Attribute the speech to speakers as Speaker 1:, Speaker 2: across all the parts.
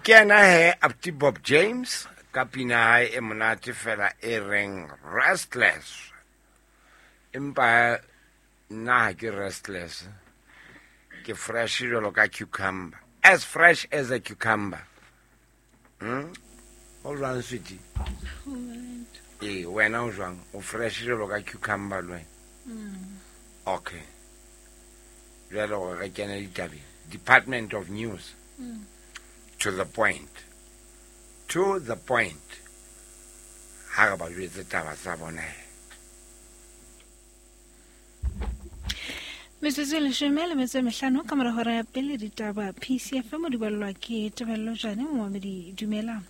Speaker 1: Ke yena he Apti Bob James ka pina hae e monate fela e reng Restless. Empa nna ha ke restless, ke fresh jwalo ka cucumber, as fresh as a cucumber. O jwang sweetie? Ee, wena o jwang? O fresh jwalo ka cucumber le wena? Okay. Jwale gore re kene ditabeng. Department of News. To the point. To the point. Ha re ba jwetse taba tsa bona.
Speaker 2: Metsotso e 15 ka mora hora ya pele ditaba PCFM di balelwa ke Tebello Jane momamedi dumela.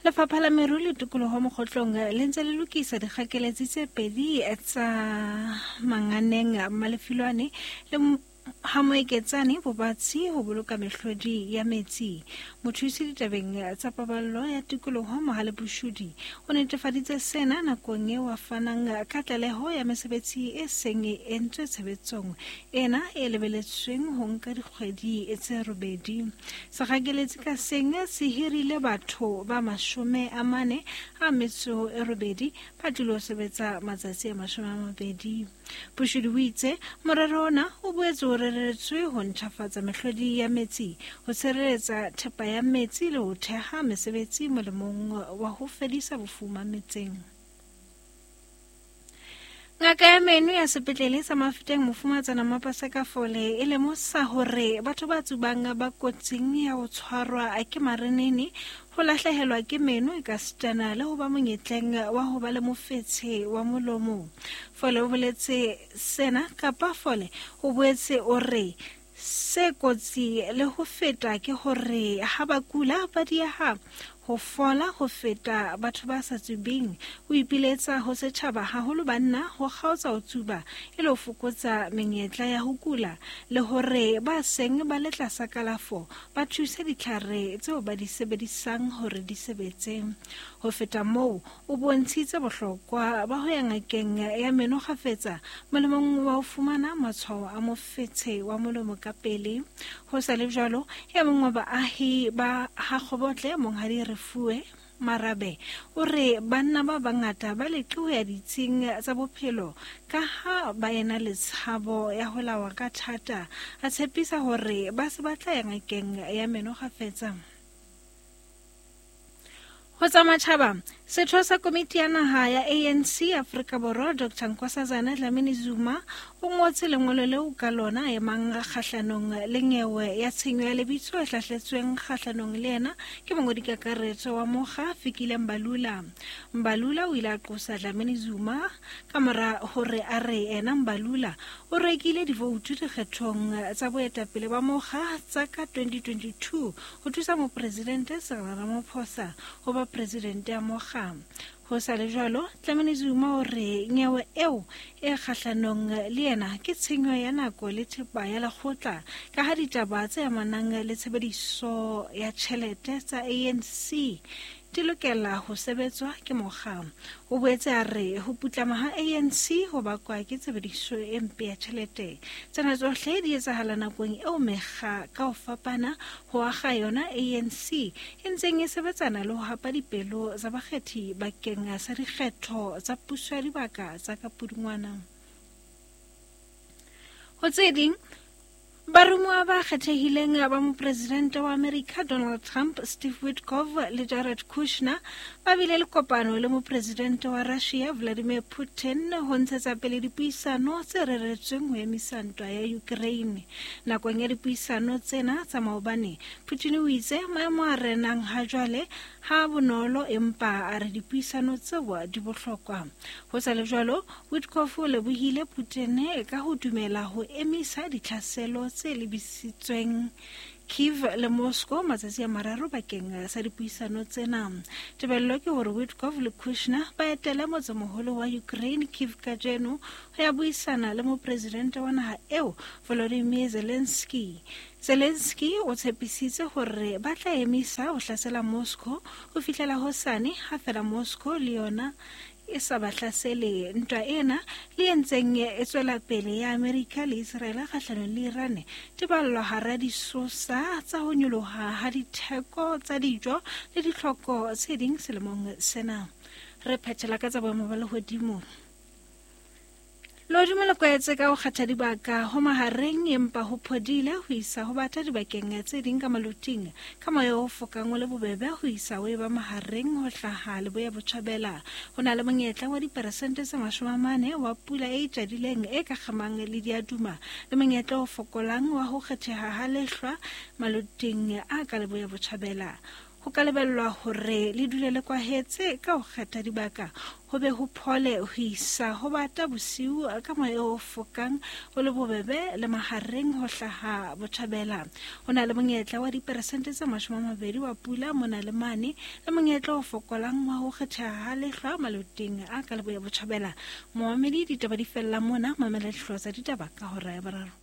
Speaker 2: Lefapha la Meru le Tikoloho Mokgotlong le ntse le lokisa dikgakeletsi tse pedi tsa Manganeng Malefilwane le ha Moeketsane Bobatsi ho boloka mehlodi ya metsi. Mothusi ditabeng tsa paballo ya tikoloho Mohale Bushudi o netefaditse sena nakong eo a fanang ka tlaleho ya mesebetsi e seng e entswe tshebetsong ena e lebeletsweng ho nka dikgwedi tse robedi. Segakeletsi ka seng se hirile batho ba 48 ba tlilo sebetsa matsatsi a 20. Bushudi o itse morero ona o boetse o reretswe ho ntjhafatsa mehlodi ya metsi, ho tshireletsa thepa ya metsi le ho theha mesebetsi molemong wa ho fedisa bofuma metseng. Ngaka ya meno ya sepetlele sa Mafeteng Mofumatsana Mapaseka Fole e lemosa hore batho ba tsubang ba kotsing ya ho tshwarwa ke marenene, ho lahlehelwa ke meno e ka sitana le ho ba monyetleng wa ho ba le mofetshe wa molomo. Fole o boletse sena kapa Fole o boetse o re se kotsi le ho feta ke hore ha ba kula ba dieha ho fola ho feta batho ba sa tsubeng. O ipiletsa ho setjhaba haholo banna ho kgaotsa ho tsuba e le ho fokotsa menyetla ya ho kula le hore ba seng ba le tlasa kalafo ba thuse ditlhare tseo ba di sebedisang hore di sebetse. Ho feta moo, o bontshitse bohlokwa ba ho ya ngakeng ya meno kgafetsa molemong wa ho fumana matshwao a mofetshe wa molomo ka pele. Ho sa le jwalo, e mong wa baahi ba ha Kgobotle, Monghadi Refuwe Marabe, o re banna ba bangata ba leqe ho ya ditsing tsa bophelo ka ha ba ena le tshabo ya ho lawa ka thata. A tshepisa hore ba se ba tla ya ngakeng ya meno kgafetsa. Ho tsa matjhaba, setho sa komiti ya naha ya ANC Afrika Borwa Dr Nkosazana Dlamini Zuma o ngotse lengolo leo ka lona a emang kgahlanong le nyewe ya tshenyo ya lebitso e hlahletsweng kgahlanong le yena ke mongodi kakaretso wa mokga Fikile Mbalula. Mbalula o ile a qosa Dlamini Zuma ka mora hore a re ena Mbalula o rekile divoutu dikgethong tsa boetapele ba mokga tsa ka 2022 ho thusa mopresidente Cyril Ramaphosa ho ba presidente ya mokga. Ho sa le jwalo, Dlamini Zuma o re nyewe eo e kgahlanong le yena ke tshenyo ya nako le thepa ya lekgotla ka ha ditaba tse amanang le tshebediso ya tjhelete tsa ANC di lokela ho sebetswa ke mokga. O boetse a re ho putlama ha ANC ho bakwa ke tshebediso e mpe ya tjhelete. Tsena tsohle di etsahala nakong eo mekga ka ho fapana ho akga yona ANC e ntseng e sebetsana le ho hapa dipelo tsa bakgethi bakeng sa dikgetho tsa puso ya dibaka tsa ka Pudungwana. Ho tse ding, baromuwa ba kgethehileng ba mopresidente wa Amerika Donald Trump, Steve Witkoff le Jared Kushner ba bile le kopano le mopresidente wa Russia Vladimir Putin ho ntshetsa pele dipuisano tse reretsweng ho emisa ntwa ya Ukraine. Nakong ya dipuisano tsena tsa maobane, Putin o itse maemo a renang ha jwale ha bonolo empa a re dipuisano tseo di bohlokwa. Ho sa le jwalo, Witkoff o lebohile Putin ka ho dumela ho emisa ditlhaselo tse lebisitsweng Kiev le Moscow matsatsi a mararo bakeng sa dipuisano tsena. Tebello ke hore Witkoff le Kushner ba etele motsemoholo wa Ukraine Kiev kajeno ho ya buisana le mopresidente wa naha eo Volodymyr Zelensky. Zelensky o tshepisitse hore ba tla emisa ho hlasela Moscow ho fihlela hosane ha fela Moscow le yona e sa ba hlasele. Ntwa ena le e ntseng e tswela pele ya Amerika le Israele kgahlanong le Iran di ballwa hara disosa tsa ho nyoloha ha ditheko tsa dijo le ditlhoko tse ding selemong sena. Re phethela ka tsa boemo ba lehodimo. Lehodimo le kwetse ka ho kgetha dibaka ho mahareng empa ho phodile ho isa ho bata dibakeng tse ding ka maloting ka moya o fokang o le bobebe ho isa o eba mahareng ho hlaha leboya botjhabela. Ho na le monyetla wa diperesente tse 40 wa pula e itjadileng e ka kgemang le diaduma le monyetla o fokolang wa ho kgetheha ha lehlwa maloting a ka leboya botjhabela. Ho ka lebellwa hore le dule le kwahetse ka ho kgetha dibaka ho be ho phole ho isa ho bata bosiu ka moya o fokang o le bobebe le mahareng ho hlaha botjhabela. Ho na le monyetla wa diperesente tse 20 wa pula mona le mane le monyetla o fokolang wa ho kgetheha ha lehlwa maloteng a ka leboya botjhabela. Momamedi, ditaba di fella mona, mamela dihlooho tsa ditaba ka hora ya boraro.